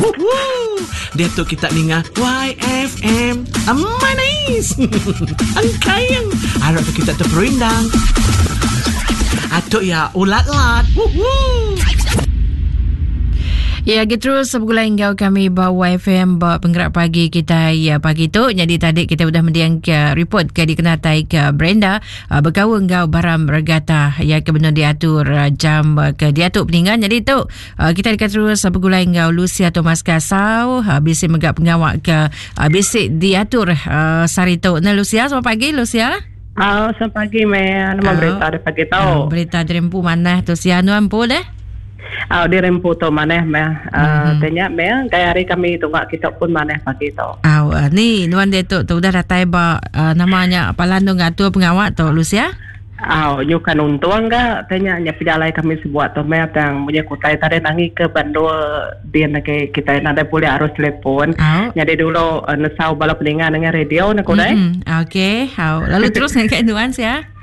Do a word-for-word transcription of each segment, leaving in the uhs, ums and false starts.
Woohoo! Diatu kita ninga Y F M. Manis. Engkayang. Arap kita terperindang. Atuk ya ulat-lat. Woohoo! Ya, kita terus bergulai enggau kami ba Y F M ba penggerak pagi kita ya pagi tu. Jadi tadi kita sudah mendiang ke report ke dikenatai ke Brenda uh, berkawan enggau Baram Regata ya ke benar diatur uh, jam uh, ke diatur peninggan. Jadi tu uh, kita dekat terus bergulai enggau Lucia Thomas Kasau uh, bisi megak pengawak ke uh, bisi diatur uh, sehari tu. Nah Lucia, selamat pagi Lucia. Ah, selamat pagi meh. Nama oh. Berita dari pagi tu. Uh, berita dari empu mana tu sia nu empu deh? Ah, di rempu tu maneh meh. Uh, tanya meh, gaya hari kami tunggak kita pun maneh pagi tu. Ah, uh, ni nuan dia tu tu udah datai ba uh, namanya palan tu ngatur pengawak tu Lucia. Ah, nyukan untung ga tanya nya pejalai kami sebuat tu meh tang punya kutai tadi nangi ke bandul dia nak kita nada boleh arus telefon. Oh. Jadi dulu uh, nesau bala peningan dengan radio nak kudai. Mm-hmm. Okey, hau. Lalu terus dengan nuan sia.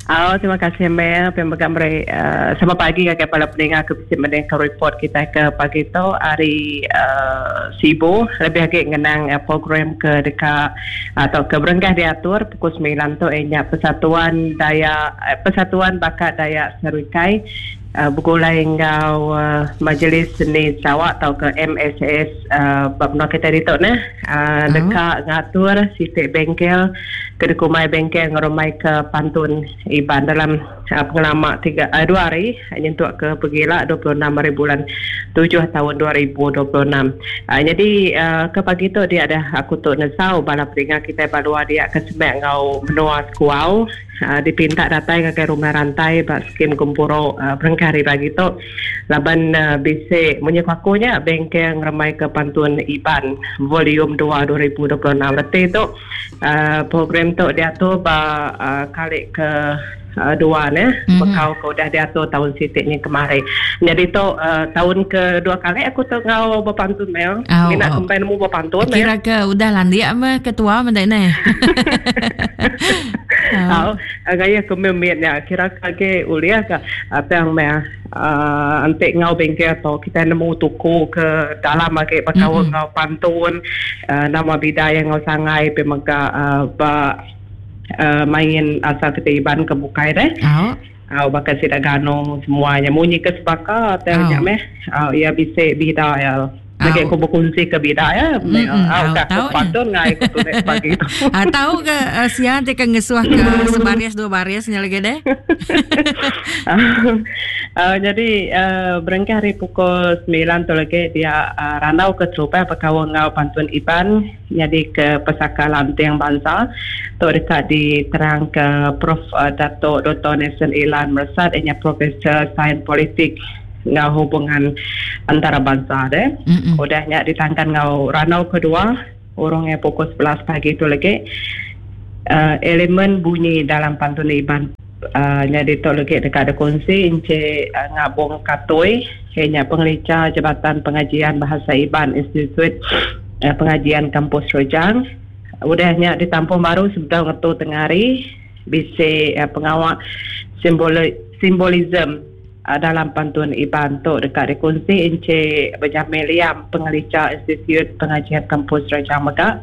Oh, terima kasih Mel pemegang beri uh, sama pagi ke kepala pendengar ke bisi mendengar report kita ke pagi tu hari uh, Sibu lebih lagi ngenang uh, program ke dekat atau ke berenggah diatur pukul sembilan tu nya Persatuan Daya uh, Persatuan Bakat Dayak Serikai uh, bergulai enggau uh, Majlis Seni Sarawak atau ke M S S uh, bab kita ditu nah uh, dekat ngatur sitik bengkel ke dekumai bengkel ngerumai ke pantun Iban dalam uh, pengalaman tiga uh, dua hari nyentuk ke pergila dua puluh enam hari bulan tujuh tahun dua ribu dua puluh enam. Uh, jadi uh, ke pagi tu dia ada aku tu nesau bala peringat kita balua dia ke semek ngau menua sekuau uh, dipinta datai ke rumah rantai bak skim kumpuro uh, berengkah hari pagi tu laban uh, bisi menyekakunya bengkel ngeremai ke pantun Iban volume dua dua ribu dua puluh enam. Reti tu uh, program tu dia tu ba uh, kali ke Uh, dua ne mm-hmm. Bekau ke udah diatur tahun sitiknya kemarin. Jadi tu uh, tahun ke dua kali aku tu ngau berpantun mel. Oh, Minat oh. Kempen mu berpantun. Kira ke udah landia mah ketua mendai ne. Oh, gaya kemimitnya kira ke uliah ke apa yang meh uh, antik ngau bengkel tu kita nemu tuku ke dalam lagi bekau mm-hmm. ngau pantun uh, nama bidai yang ngau sangai pemega uh, ba Uh, main asal kita Iban ke bukai deh. Oh. Oh, bakal sidak gano semuanya munyi ke sebaka atau oh. meh. Oh, ya bisa bida ya. Lagi aku berkongsi ke bida ya. Oh, oh, pantun ngai aku tu pagi tu. Ah, tahu ke uh, siang te ke ngesuah ke sebaris dua barisnya lagi deh. uh, jadi uh, berengkah hari pukul sembilan tu lagi dia uh, randau ke terupai berkawan ngau pantun Iban jadi ke Pesaka Lanting Bangsa tu dekat diterang ke Prof uh, Dato' Doktor Nelson Ilan Mersat ianya Profesor Sains Politik ngau hubungan antarabangsa deh. Mm-mm. Udahnya ditangkan ngau ranau kedua orangnya pukul sebelas pagi tu lagi uh, elemen bunyi dalam pantun Iban uh, jadi tu lagi dekat ada kongsi Encik uh, Ngabong Katoi hanya pengelica Jabatan Pengajian Bahasa Iban Institut uh, Pengajian Kampus Rojang. Udahnya ditampung baru sebelum ngetu tengah hari bisa uh, pengawak simboli, simbolism uh, dalam pantun Iban tu dekat dikongsi Encik Benjamin Liam pengelica Institut Pengajian Kampus Rojang Megah.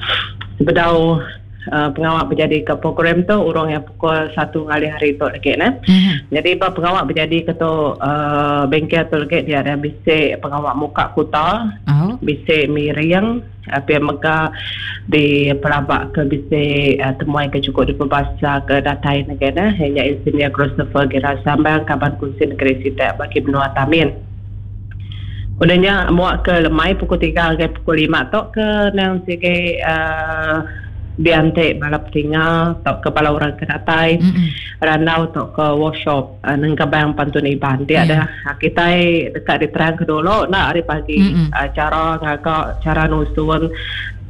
Sebedau uh, pengawak berjadi ke program tu orang yang pukul satu ngalih hari tu lagi nah. Mm-hmm. Jadi apa pengawak berjadi ke tu uh, bengkel tu lagi dia ada bisik pengawak muka kuta, oh. bisik miring apa mega di pelabak ke bisik uh, temuai ke cukup di perbahasa ke datai negara hanya Insinyur Christopher Gira Sambang kaban kunci negeri Sitak bagi benua Tamin. Udahnya muak ke lemai pukul tiga ke pukul lima tu ke nang sige uh, diantik balap tinggal atau ke bala orang ke datai mm-hmm. randau atau ke workshop uh, nengkabang pantun Iban dia yeah. ada kita dekat diterang ke dulu nak hari pagi mm-hmm. uh, cara ngagak cara nusun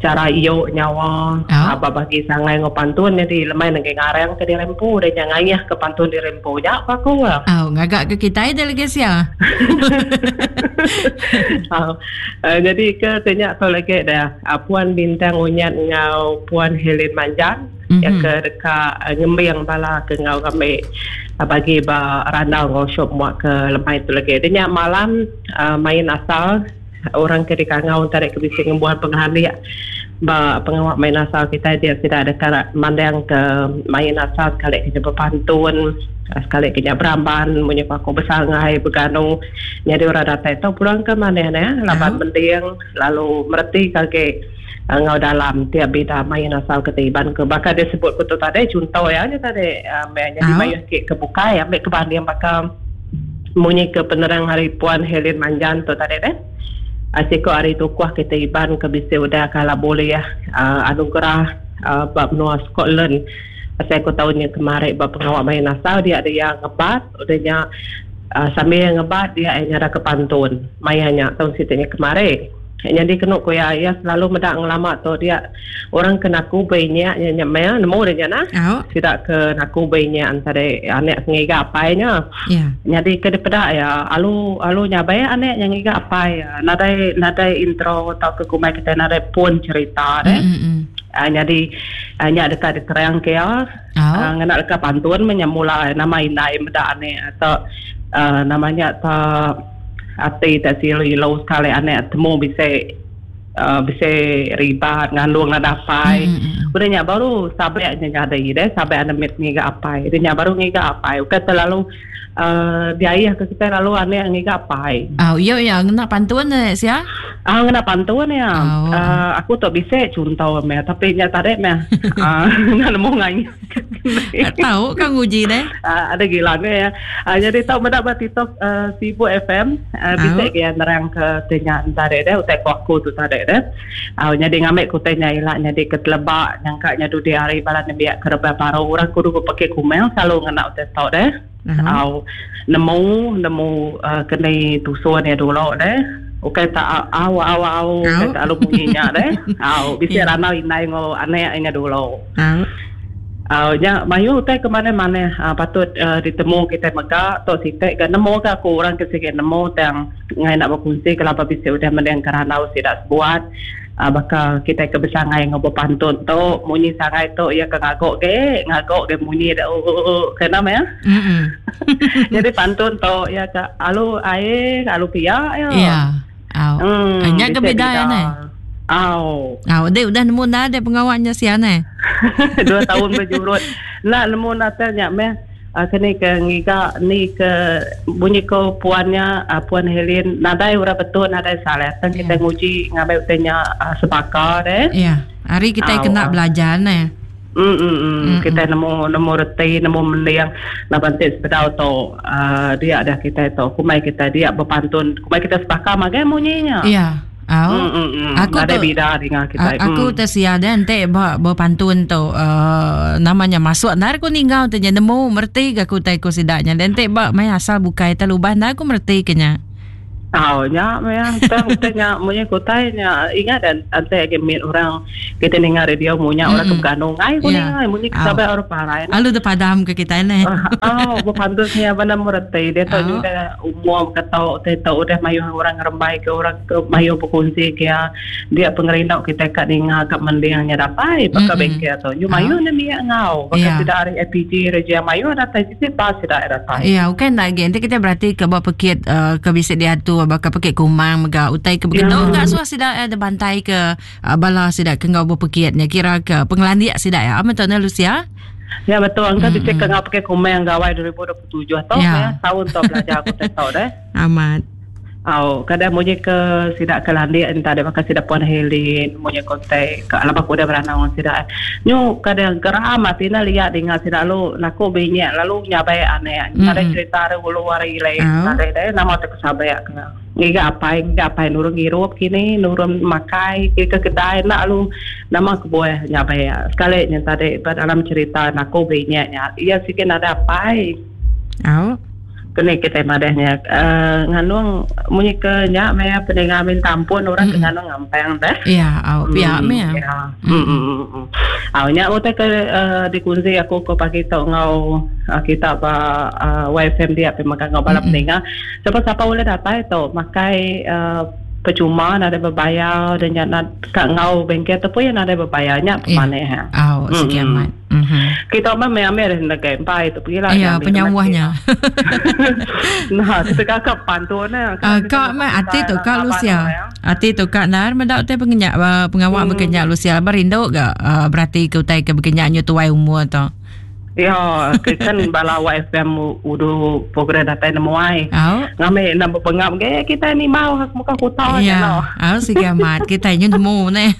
cara iyo nyawa oh. Apa bagi sangai ngo pantun jadi lemai nengke ngarang ke dirempu dan yang ngayah ke pantun dirempu ya apa aku lah oh ngagak ke kita delegasi ya. Oh, uh, jadi ke tanya tu lagi dah uh, Puan Bintang Unyat ngau Puan Helen Manjan mm-hmm. yang ke dekat uh, ngembing bala ke ngau kami uh, bagi ba randau ngau shop muak ke lemai tu lagi. Dia malam uh, main asal orang ke dikangau tarik ke bisi ngembuan pengelandik ba pengawak main asal kita dia tidak ada karak mandang ke main asal sekali kena berpantun sekali kena beramban munyi aku bersangai berganu jadi orang datang tu pulang ke mana ne laban mending lalu mereti kage ngau dalam tiap bida main asal ketiban ke bakal dia sebut kutu tadi contoh ya nya tadi um, jadi mayu sikit ke bukai ambil kebanding bakal munyi ke penerang hari Puan Helen Manjan tu tadi deh. Asiko hari tukuh kita iban ke bisa udah kalau boleh ya uh, anugerah uh, bab menua Scotland. Saya aku tahunnya kemarin bab pengawak main asal dia ada yang ngebat udahnya uh, sambil ngebat dia yang ada kepantun mayanya tahun situnya kemarin. Jadi kena ko ya ya selalu medak ngelama tu dia orang kena ku banyak nya nya nemu dia nah. Oh. Tidak ke naku banyak antara anak ngiga apainya. Yeah. Jadi ke depedak ya alu alu nyabai anak yang ngiga apai ya. Nadai nadai intro atau ke kumai kita nadai pun cerita deh. Mm-hmm. Uh, jadi uh, nya dekat diterang ke ya. Oh. Uh, ngena dekat pantun menyemula nama indai medak anak atau uh, namanya tak ati tak silu sekali anak temu bisa uh, bisa ribat ngandung ada apai. Mm-hmm. Udahnya baru sabeknya ada deh sabek anak mit ngiga apai. Udahnya baru ngiga apai. Bukan terlalu uh, biaya ke kita lalu anak ngiga apai. Oh iya iya ngena pantun eh sia. Ah ngena pantun ya. Oh. Uh, aku tak bisa contoh meh tapi nya tarik meh. Ah nemu ngai. Tahu kan nguji deh. Uh, ada gila ya. Uh, jadi tahu mendak ba TikTok uh, Sibu F M uh, bisa ke nerang ke tanya tarik deh utai aku tu tarik deh. Uh, jadi ngambil kutenya ilak jadi ketelebak nyangkaknya du di hari balan nembiak kereba baru orang kudu pakai kumel selalu ngena utai tau deh. Uh-huh. Au nemu nemu uh, kena tusuan ya dulu deh. Okey tak au au au okay, tak alu bunyinya deh. Au bisa yeah. ranau indai ngo anek nya dulu. Au. Uh, ya, mayu utai ke mana-mana uh, patut uh, ditemu kita mega tok sitek ke nemu ke aku orang ke sikit nemu tang ngai nak berkongsi kelapa bisa udah mending kerana sidak buat uh, bakal kita ke besangai ngobo pantun tu munyi sangai tu ya ke ngagok ke ngagok ke munyi dak oh, oh, oh. Kena ya. Mm-hmm. Jadi pantun tu ya ke alu air alu pia ya. Ya. Au. Hmm, Nya ke beda ya ne. Au. Au, dia udah nemu dah ada pengawaknya siana. Dua tahun berjurut. Nak nemu natanya meh. Uh, kena ke ngiga ni ke bunyi ko puannya uh, puan Helen nadai ura betul nadai salah. Tan kita yeah. nguji ngambil utenya uh, sepakar deh. Ya. Yeah. Hari kita Au, kena au. belajar ne. Mm, mm, mm. Kita nemu nemu reti nemu mending lapan tit sepedau tu uh, dia dah kita tu kumai kita dia berpantun kumai kita sepakar magai bunyinya. Ya. Yeah. Au. Mm, mm, mm. Aku ada tu, bida dengan kita. Aku mm. tersia dan te ba berpantun tu uh, namanya masuk nar ku ninggal te nemu merti ke aku tai ku sidaknya dan te ba mai asal bukai terlubah nar ku merti kenya. Tahu nya meh tang tanya munyi kutai nya ingat dan ante age mit orang kita dengar radio munya orang ke ganung ai ku Yeah. ni munyi sampai orang parai. Alu de padam ke kita ne. Oh, berpantun nya bana merti dia tahu juga umum kata te tahu udah mayu orang ngerembai ke orang ke mayu berkongsi ke dia pengerindau kita kat dengar kat mendingnya dapai bakal bengkel tu. Nyu mayu ne miak ngau bakal tidak hari A P G reja mayu datai sisi pas tidak datai. Ya, bukan lagi nanti kita berarti ke buat pekit uh, ke bisa diatur bakal pekit kumang mega utai ke begitu Ya. enggak suah sidak ada bantai ke uh, bala sidak ke ngau berpekitnya kira ke pengelandik sidak ya amat tuan Lucia. Ya betul angka mm-hmm. bisa ke ngau pakai kumang gawai dua ribu dua puluh tujuh tau Ya. ya tahun tau belajar aku tak tahu deh. Amat. Au, kadang munyi ke sidak ke landik entah ada bakal sidak Puan Helen munyi kontak ke alam aku dah beranang sidak. Nyu kadang geram atina lihat dengar sidak lu naku banyak lalu nyabai aneh. Mm-hmm. Ada cerita ada ulu wari lain. Oh. Ada deh nama tak sabai ke. Ngiga apa ngiga apa nurun ngirup kini nurun makai ke ke kedai nak lu nama kebuah nyabai. Sekali nya tadi dalam cerita naku banyaknya. Ia sikit ada apa. Au. Kena kita madahnya uh, nganung munyi ke nyak meh pendengar minta ampun orang mm. ke nganung ngampang dah. Ya, au pia meh. Ya. Mm mm. Au nyak utai ke uh, dikunci aku ke pagi tok ngau uh, kita ba uh, Y F M dia pe makan ngau bala pendengar. Siapa-siapa boleh datang tu makai uh, percuma nada berbayar dan nyak nak kat ngau bengkel tu pun yang nada berbayar nyak Ya. pemane ha. Au sekian mat. Mhm. Mhm. Kita mah me ame negai empai tu pergilah. Ya, penyawahnya. Nah, kita kakak pantun nah. Uh, kak mah ati tu kak Lucia. Ati tu kak nar medak te pengenyak uh, pengawak hmm. bekenyak Lucia berindu ga uh, berarti ke utai ke bekenyak nyu tuai umur tu. Ya, kan bala Y F M udu program datai nemuai. Oh. Ngame nak bengap ge kita ni mau hak muka kota ya. No. Oh, siga amat kita nyu nemu ne.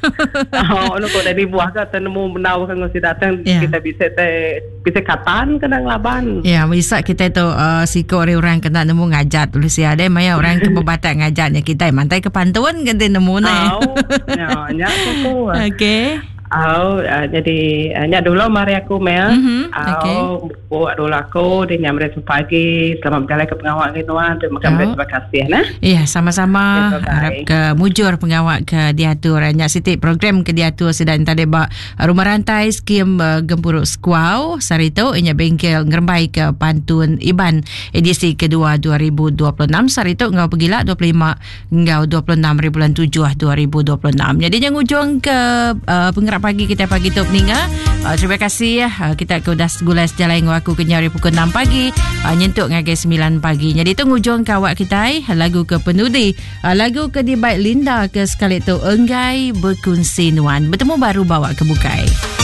Oh, nu ko dari buah ka nemu menau kan ngosi datang Ya. kita bisa te bisa katan kena ngelaban. Ya, bisa kita tu uh, siko orang orang kena nemu ngajat Lucia deh maya orang ke berbatak ngajatnya kita mantai ke pantun kan nemu ne. Oh, ya, nya tu. Okey. Oh, uh, jadi uh, nya dulu mari aku Mel. Mm-hmm. Okay. Oh, buat dulu aku di nyamre pagi. Selamat berjalan ke pengawak ke tuan. Terima kasih, oh. Terima kasih nah. Ya, sama-sama. Okay, harap ke mujur pengawak ke diatur. Nyak sitik program ke diatur sedang tadi ba rumah rantai skim uh, Gempuruk Sekuau sarito inya bengkel ngerembai ke Pantun Iban edisi kedua dua ribu dua puluh enam sarito ngau pegila dua puluh lima ngau dua puluh enam bulan tujuh dua ribu dua puluh enam. Jadi yang ujung ke uh, penggerak pagi kita pagi tu peninga. Uh, terima kasih ya. Uh, kita ke udah gulai sejalan dengan aku ke nyari pukul enam pagi uh, nyentuk ngagai sembilan pagi. Jadi tu ngujung kawak kita lagu ke penudi. Uh, lagu ke di baik Linda ke sekali tu enggai berkunsi nuan. Bertemu baru bawa ke bukai.